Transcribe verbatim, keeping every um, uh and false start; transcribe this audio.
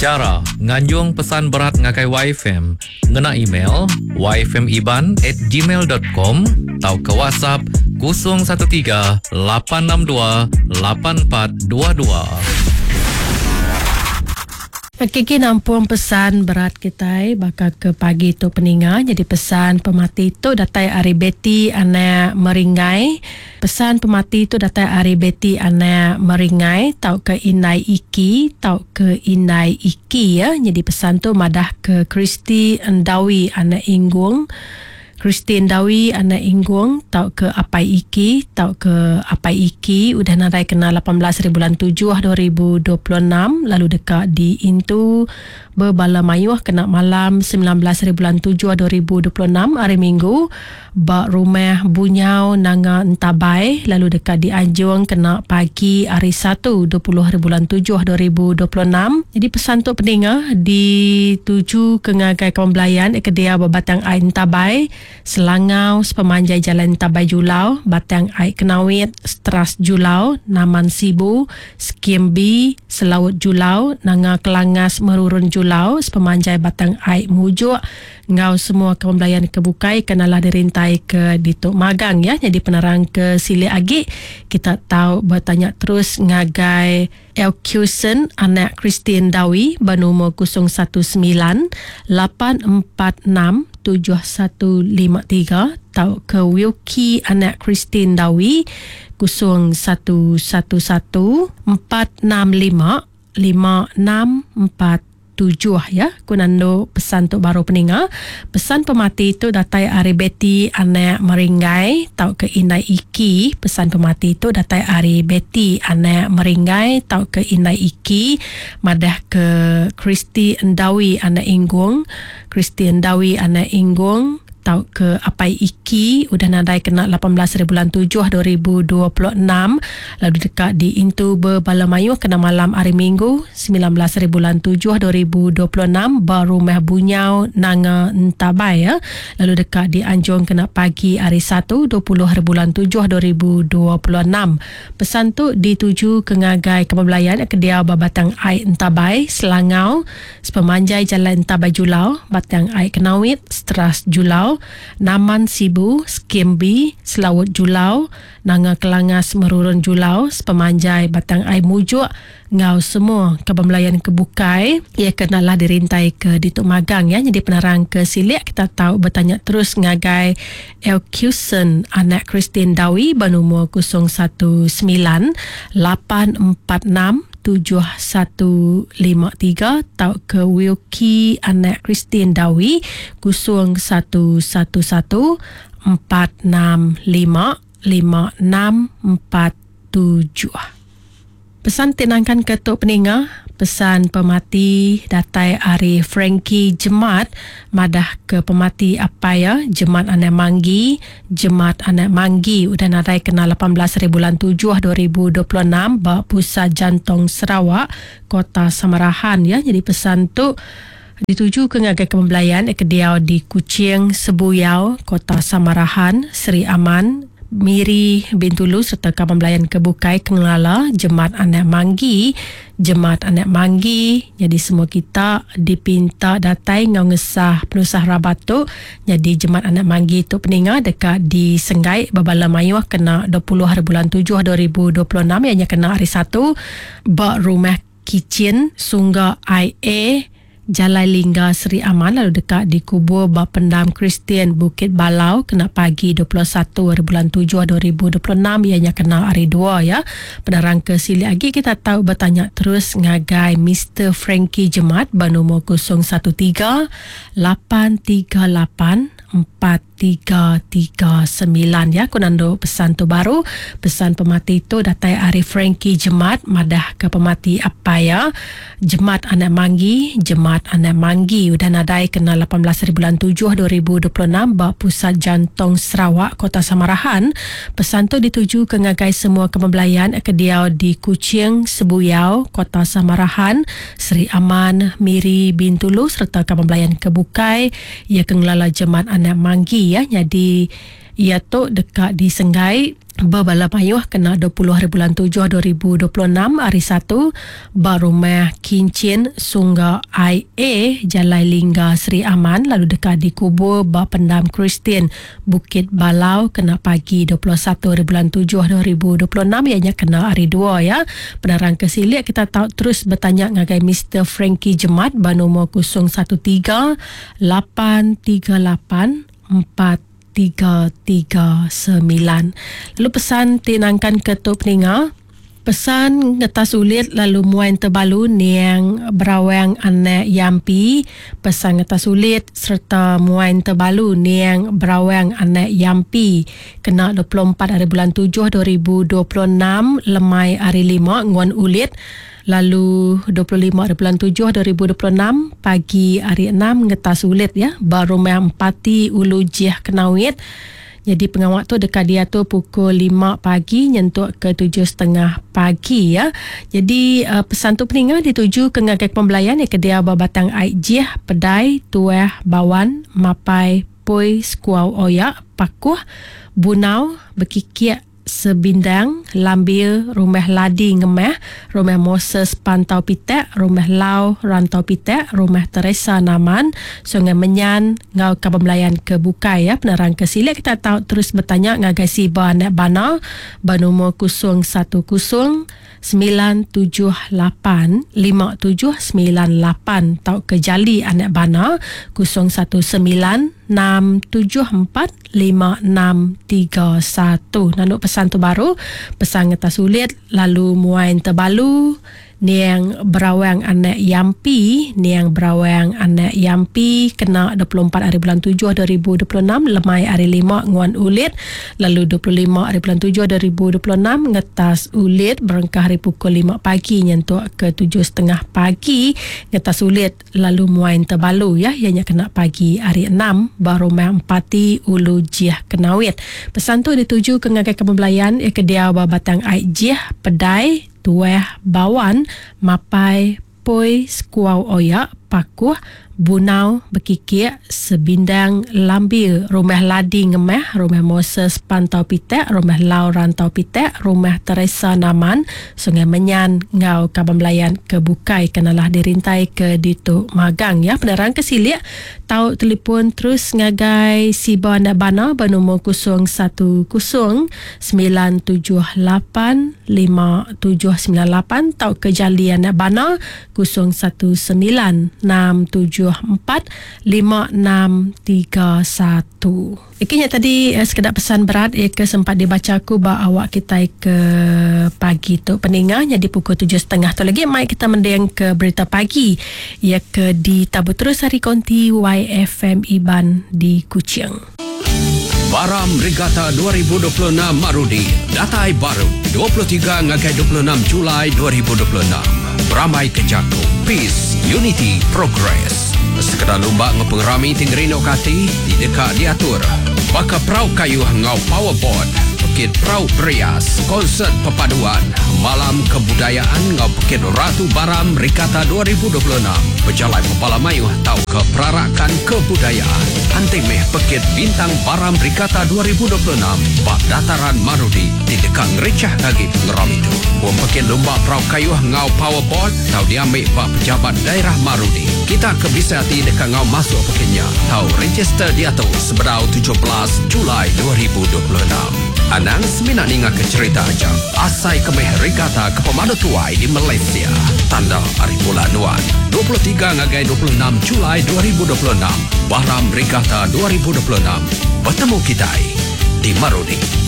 Chara nganjung pesan berat ngagai Y F M ngena email y f m iban at gmail dot com atau ke WhatsApp kosong satu tiga lapan enam dua lapan empat dua dua. Kiki nampung pesan berat kita bakal ke pagi tu peninga. Jadi pesan pemati tu datai ari Betty anak Meringai. Pesan pemati tu datai ari Betty anak Meringai tau ke Indai Iki tau ke Indai Iki ya. Jadi pesan tu madah ke Kristi Endawi anak Inggung. Kristi Endawi anak Inggung tau ke Apai Iki tau ke Apai Iki udah nadai kena lapan belas hari bulan tujuh dua ribu dua puluh enam lalu dekat di Intu berbala mayuh kena malam sembilan belas hari bulan tujuh dua ribu dua puluh enam hari Minggu ba rumah Bunyau Nanga Entabai lalu dekat di Anjung kena pagi hari Satu dua puluh hari bulan tujuh dua ribu dua puluh enam. Jadi pesan tu peninga dituju ke ngagai kawan belayan kedia Batang Ai Entabai Selangau sepemanjai Jalan Entabai Julau, Batang Ai Kenawit, Stras Julau, Naman Sibu, Skim B, Selaut Julau, Nanga Kelangas Merurun Julau, sepemanjai Batang Ai Mujuk, ngau semua kawan belayan kebukai kenalah dirintai ke Dituk Magang ya. Jadi penerang ke Silik Agi kita tahu bertanya terus ngagai Elkusen anak Christine Dawi bernombor kosong satu sembilan lapan empat enam tujuh satu lima tiga atau ke Wilkie anak Christine Dawi kosong satu satu satu empat enam lima lima enam empat tujuh ya. Ku nando pesan tu baru peninga. Pesan pemati tu datai ari Betty anak Meringai tau ke Indai Iki. Pesan pemati tu datai ari Betty anak Meringai tau ke Indai Iki madah ke Kristi Endawi anak Inggung. Kristi Endawi anak Inggung tau ke Apai Iki udah nadai kena lapan belas hari bulan tujuh dua ribu dua puluh enam lalu dekat di Intu Berbala Mayuh kena malam hari Minggu sembilan belas hari bulan tujuh dua ribu dua puluh enam ba rumah Bunyau Nanga Entabai ya. Lalu dekat di Anjung kena pagi hari Satu dua puluh hari bulan tujuh dua ribu dua puluh enam. Pesan tu dituju ke ngagai kebelayan ke dia ba Batang Ai Entabai Selangau sepemanjai Jalan Entabai Julau, Batang Ai Kenawit, Stras Julau, Naman Sibu, Skim B, Selaut Julau, Nanga Kelangas Merurun Julau, sepemanjai Batang Ai Mujuk, ngau semua kebelayan kebukai ia kenalah dirintai ke Dituk Magang ya. Jadi penerang ke Silik kita tahu bertanya terus ngagai Elkusen anak Christine Dawi bernombor kosong satu sembilan lapan empat enam tujuh satu lima tiga atau ke Wilkie anak Christine Dawi kosong satu satu satu empat enam lima lima enam empat tujuh. Pesan tinangkan ketuk peninga, pesan pemati datai ari Frankie Jemat madah ke pemati apa ya Jemat anak Manggi. Jemat anak Manggi udah nadai kena lapan belas hari bulan tujuh dua ribu dua puluh enam ba Pusat Jantung Sarawak Kota Samarahan ya. Jadi pesan tu dituju ke ngagai kebelayan ke diau di Kuching, Sebuyau, Kota Samarahan, Seri Aman, Miri, Bintulu serta kaban belayan kebukai kengelala Jemat anak Manggi. Jemat anak Manggi. Jadi semua kita dipinta datai ngau ngesah penusah rabat tu. Jadi Jemat anak Manggi tu peninga dekat di Senggai Babala Mayuh kena dua puluh hari bulan tujuh dua ribu dua puluh enam ianya kena hari Satu ba rumah Kicin Sungga I A Jalai Lingga Seri Aman lalu dekat di kubur Bak Pendam Kristian Bukit Balau kena pagi dua puluh satu hari bulan tujuh dua ribu dua puluh enam ianya kena hari dua ya. Penerang ke Silik lagi kita tahu bertanya terus ngagai Mister Frankie Jemat bernombor kosong satu tiga lapan tiga lapan empat tiga tiga sembilan ya. Aku nando pesan tu baru. Pesan pemati tu datai ari Frankie Jemat madah ke pemati apa ya Jemat anak Manggi. Jemat anak Manggi udah nadai kena lapan belas hari bulan tujuh dua ribu dua puluh enam ba Pusat Jantung Sarawak Kota Samarahan. Pesan tu dituju ke ngagai semua kebelayan ke diau di Kuching, Sebuyau, Kota Samarahan, Seri Aman, Miri, Bintulu serta kebelayan kebukai ia ke ngelala Jemat anak Manggi ya. Jadi ia tu dekat di Senggai Berbala mayuh kena dua puluh hari bulan tujuh dua ribu dua puluh enam hari Satu ba rumah Kincin Sungga I A Jalai Lingga Seri Aman, lalu dekat dikubur ba Pendam Kristian Bukit Balau kena pagi dua puluh satu hari bulan tujuh dua ribu dua puluh enam, ianya kena hari dua ya. Penerang ke silik kita tahu terus bertanya ngagai Mister Frankie Jemat ba nombor kosong satu tiga lapan tiga lapan empat tiga tiga sembilan. Lalu pesan ti nangkan ke tu peninga, pesan ngetas ulit lalu muain terbalu niang berawang anak yampi. Pesan ngetas ulit serta muain terbalu niang berawang anak yampi kena dua puluh empat hari bulan tujuh dua ribu dua puluh enam lemai hari lima nguan ulit. Lalu dua puluh lima hari bulan tujuh dua ribu dua puluh enam pagi hari enam ngetas ulit ya ba rumah Empati Ulu Jih Kenawit. Jadi pengawak tu dekat dia tu pukul lima pagi nyentuk ke tujuh setengah pagi ya. Jadi uh, pesan tu peninga dituju ke ngagai pembelayan ya ke dia ba Batang Ai Jih, Pedai, Tuah, Bawan, Mapai, Poi, Skuau Oyak, Pakuh, Bunau, Bekikiak, Sebindang, Lambir, Rumah Ladi Ngemah, Rumah Moses Pantau Pitek, Rumah Lau Rantau Pitek, Rumah Teresa Naman, Sungai Menyan, ngau Kaban Melayan ke Bukai ya. Penerang ke silik kita tahu terus bertanya ngagai si ba anak bana bernomor kosong satu kosong sembilan tujuh lapan lima tujuh sembilan lapan tau ke jali anak bana kosong satu sembilan enam tujuh empat lima enam tiga satu. Nanduk pesan tu baru, pesan ngetas sulit lalu muain terbalu niang berawang anak yampi, niang berawang anak yampi kena dua puluh empat hari bulan tujuh dua ribu dua puluh enam lemai hari lima nguan ulit, lalu dua puluh lima hari bulan tujuh dua ribu dua puluh enam ngetas ulit berengkah hari pukul lima pagi nyentuk ke tujuh setengah pagi ngetas ulit lalu muain terbalu ya, ianya kena pagi hari enam baru rumah Empati Ulu Jih Kenawit. Pesan tu dituju ke ngagai kebelayan ya ke dia Batang Ai Jih, Pedai, Tuah, Bawan, Mapai, Poi, Skuau Oyak, Pakuh, Bunau, Bekikiak, Sebindang, Lambir, Rumah Ladi Ngemah, Rumah Moses Pantau Pitek, Rumah Lau Rantau Pitek, Rumah Teresa Naman, Sungai Menyan, Ngau Kaban Melayan ke Bukai kenalah dirintai ke Ditu Magang ya. Penerang ke silik tau telefon terus ngagai Siba Anak Bana bernombor kosong satu kosong sembilan tujuh lapan lima tujuh sembilan lapan tau ke Jali Anak Bana kosong satu sembilan enam tujuh empat lima enam tiga satu. Ikinya tadi eh, sekedar pesan berat eh, ke sempat dibaca aku ba awak kita ke pagi tu peningah jadi pukul tujuh setengah tu lagi mai kita mendeng ke berita pagi ya ke di Tabu Terus Hari Konti Y F M Iban di Kuching. Baram Regatta dua ribu dua puluh enam Marudi datai baru dua puluh tiga ngagai dua puluh enam Julai dua ribu dua puluh enam. Beramai Kejako, Peace, Unity, Progress. Sekedar lumba ngepengerami tinggerino kati di dekat diatur. Baka perau kayu ngau powerboard, pekit perau berias, konsert perpaduan, malam kebudayaan ngau pekit Ratu Baram Regatta dua ribu dua puluh enam. Berjalai pepala mayuh tau ke perarakan kebudayaan. Antimeh pekit Bintang Baram Regatta dua ribu dua puluh enam bak dataran Marudi di dekat ngericah lagi pengeram itu. Buang pekit lumba perau kayu ngau powerboard tau diambil bak pejabat daerah Marudi. Kita kebisa hati dekat ngau masuk pekitnya. Tau register dia tu seberau tujuh belas Julai dua ribu dua puluh enam. Anang seminat ninga ke cerita aja. Asai kemeh regatta ke pemadu tuai di Malaysia. Tanda hari bulan nuan. dua puluh tiga ngagai dua puluh enam Julai dua ribu dua puluh enam. Baram Regatta dua ribu dua puluh enam. Bertemu kita di Marudi.